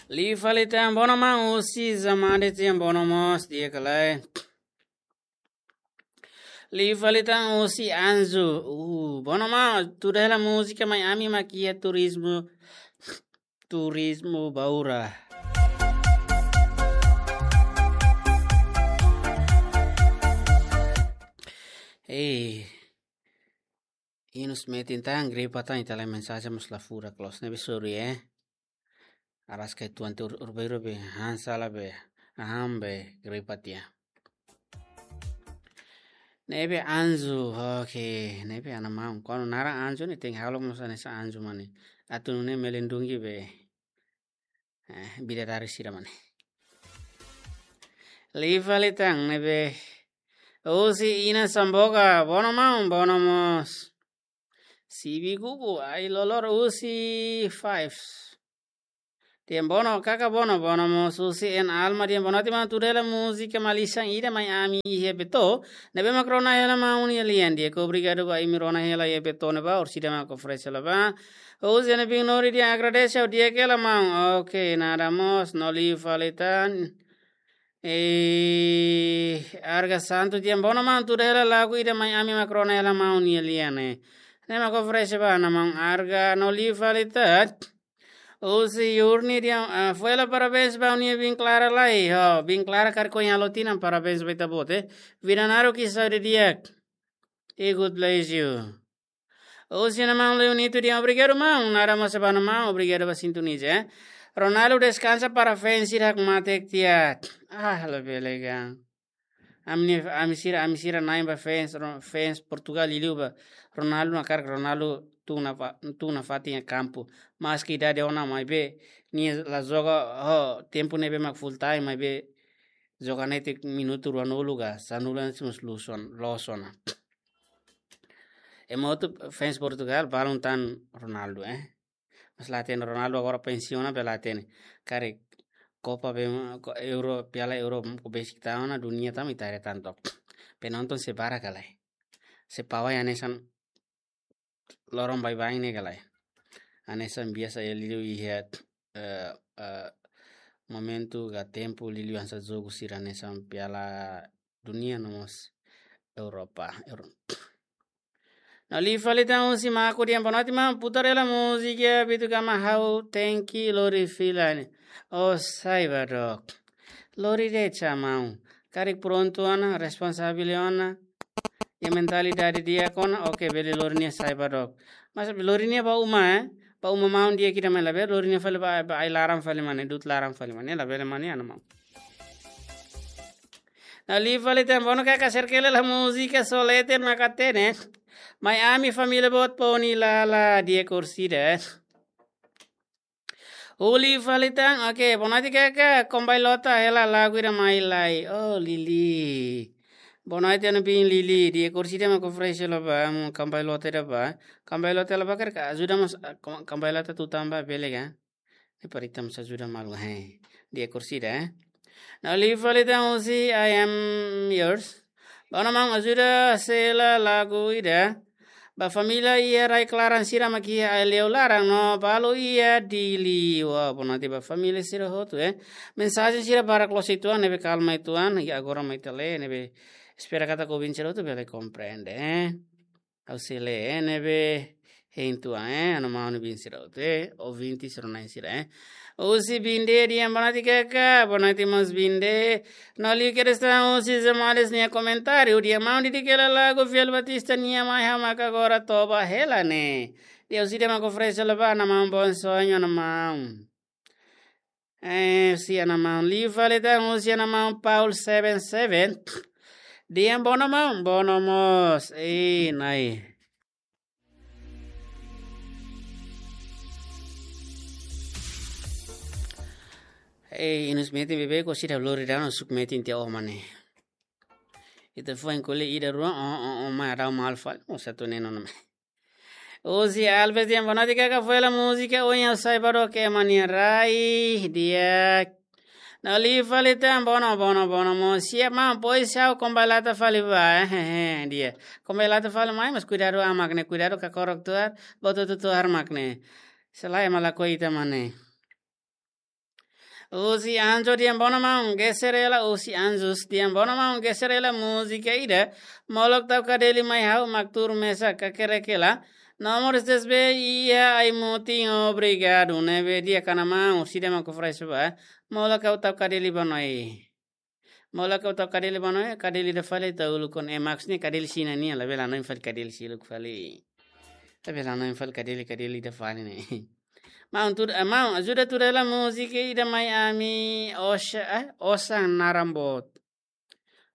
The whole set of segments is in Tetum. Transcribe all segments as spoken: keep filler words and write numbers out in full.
Liu fali tan, bono maun, husi Zamade tian, bono mós, di'ak ka lae? Liu fali tan husi Anju. Uh, bono maun, tuda hela múzika Mai Ami mak iha turizmu, turizmu Baura. Eh, inus metin tan, gripa tan, ita-nia mensajen mós la furak loos, ne'ebé sorry, eh. Araska tuan tu ur-, urberu be, han sala be, aham be, gripa tiha. Ne'ebé Anju, oke, ne'ebé ana maun. Kuandu naran Anju ne'e tenke halo mós hanesan Anju mak ne'e. Atu nune'e melindungi be, eh, bidadari sira mak ne'e. Liu fali tan ne'ebé husi Ina Samboga, bono maun, bono mós. Sibi Gugu, ai lolor husi Fives. Tian bono, kaka bono, bono mós husi En Alma, tian bono, tian maun, tuda hela múzika malisan ida Mai Ami iha Beto, ne'ebé mak rona hela maun nia lian, di'ak, obrigadu ba imi rona hela iha Beto ne'ebá, orsida mak oferese hela ba. Husi Ana Bin Nori, tian agradese, di'ak ka lae maun. Oke, nada mós, no liu fali tan. Eh, Arga Santu, tian bono maun, tuda hela lagu ida Mai Ami mak rona hela maun nia lian ne'e. Ne'e mak oferese ba Ana maun Arga, no liu fali tan. Husi Yurni, tian, ah, fó hela parabéns ba nia biin Clara lai. Ho, biin Clara karik ohin halo tinan, parabéns ba ita-boot, eh. Vida naruk i saúde di'ak. E God bless you. Husi Ana maun Leonito, tian obrigadu maun, nada mós ba Ana maun, obrigadu ba sintoniza, eh. Ronaldo deskansa para fans sira hakmatek tiha. Ah, labele ka. Ami, ami sira, ami sira na'in ba fans, Ro-, fans Portugal liuliu ba Ronaldo, hakarak Ronaldo tun nafa-, tun nafatin iha kampu. Maski idade ona maibé, nia la joga, ho, tempu ne'ebé mak full time maibé joga netik minutu ruanulu ka sanulu ne'e mós loos ona, loos ona. Ema hotu fans Portugal balun tan Ronaldo, eh. Mas la hatene, Ronaldo agora pensiona, bele la hatene. Karik Copa be, ko-, Euro, Piala Euro, ko besik tan ona, dunia tan ita haree tan to'ok. Penonton sei barak ka lae. Sei pawai hanesan loron baibain ne'e ka lae. Hanesan biasa iha liuliu iha, eh, eh, momentu ka tempu liuliu hanesan jogu sira hanesan Piala Dunia no mós Europa. Euro-, no liu fali tan husi Maku, tian bono, tian maun, putar hela múzika Bitu Gama Hau Tenke Lori Fila ne'e. Oh, sai ba dook. Lori de'it sa maun. Karik prontu ona, responsavel ona, iha mentalidade di'ak ona, oke, bele lori nia sai ba dook. Mas lori nia ba uma, eh? Ba uma maun di'ak ida mak ne'e, labele lori nia fali ba, ba ai-laran fali mak ne'e, du'ut laran fali mak ne'e, labele mak ne'e, Ana maun. No liu fali tan, bono kaka, serkele la múzika Solete maka hatene. Mai Ami, família boot, Poni Lala, di'ak orsida. Liu fali tan, oke, bonoite kaka, Kombai Lota hela lagu ida Mai Lai. Oh, Lili. Bonoite Ana biin Lili, di'ak orsida mak oferese hela ba, amu Kombai Lota ida ba. Kombai Lota hela ba karik ajuda mós, ah, Kom-, Kombai Lota tutan ba bele ka. Ne'e para ita mós ajuda malu, he. Di'ak orsida, eh. No liu fali tan husi I Am Yours. Bono maun, ajuda sela lagu ida ba família iha rai-klaran sira mak iha Aileu laran no balu iha Dili. Wah, bonoite ba família sira hotu, eh. Mensajen sira barak loos uitoan, ne'ebé kalma uitoan, i agora mak ita lee, ne'ebé espera katak ouvinte sira hotu bele komprende, eh. Ha'u sei lee, eh, ne'ebé hein uitoan, eh, Ana maun no biin sira hotu, eh, ouvinte sira na'in sira, eh. Husi Binde, tian bonoite kaka, bonoite mós Binde. No liu kedas tan husi Zamades nia komentáriu, tian maun, dedika hela lagu Fiel Batista nian, Mai Ha'u Maka Agora Toba Hela Ne'e. Di'ak orsida mak oferese hela ba Ana maun, Bom Sonho, Ana maun. Eh, husi Ana maun. Liu fali tan husi Ana maun Paul seven seven. Tian bono maun, bono mós. Eh, nai. Eh, inus metin beibeik, orsida lori daudaun, suk metin tiha ó mak ne'e. Ita foin ko'alia ida rua, ó, ó, ó, mai adau mal fali, ó satu neno nama. Husi Alves, tian bonoite kaka, fó hela múzika Oinsá Sai Ba Dook, ema nia rai, di'ak. No liu fali tan, bono, bono, bono mós. Siap maun, pois ha'u Kombai Lota fali ba, eh, eh, eh, di'ak. Kombai Lota fali mai, mas kuidadu an mak ne'e, kuidadu kakorok tuar, boto tu tuar mak ne'e. Selae ema lakohi ita mak ne'e. Husi Anjo Diambono maun, geser hela, husi Anjos Diambono maun, geser hela múzika ida, molok tau Kadeli mai ha'u, mak tuur mesak, kakerek hela. Nomor seis B, iha ai-mutin, obrigadu, ne'ebé di'ak ona maun, sida mak frai suba, molok ha'u tau Kadeli ba noi. Molok ha'u tau Kadeli ba noi, Kadeli ida fali tau uluk ona, eh, maksudnya Kadeli sira-nian, labele hanoin fali Kadeli sira uluk fali. Labele hanoin fali Kadeli, Kadeli ida fali ne'e. Maun tuur, eh, maun, ajuda tuur hela múzika ida mai ami, osa, eh, osan naran boot.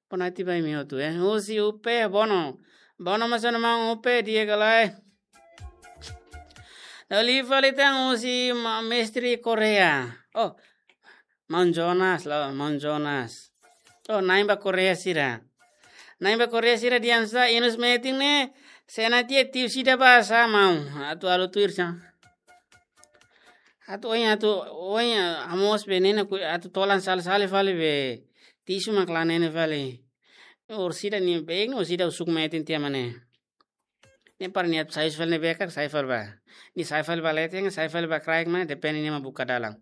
Bona ati ba imi hotu, eh. Husi Upe, Bono. Bono mós ona maun Upe, di'ak ka lae. Dala ida fali tan husi ma-, mestre Korea. Oh, maun Jonas, la, maun Jonas. Oh, na'in ba Korea sira. Na'in ba Korea sira di'ak sá, inus metin ne'e, se na tiha tiu sida ba sá maun. Atu halo tuir sá. Atu oin, atu oin, amos be ne'e ne'e ku, atu tolan sal sali fali be. Tisu mak la ne'e ne'e fali. Orsida ni beng, orsida usuk metin tiha mak ne'e. Ne'e para nia atu sai fali ne'ebé ka, sai fali ba. Nia sai fali ba leten, sai fali ba kraik mak ne'e, depende nia mak buka dalan.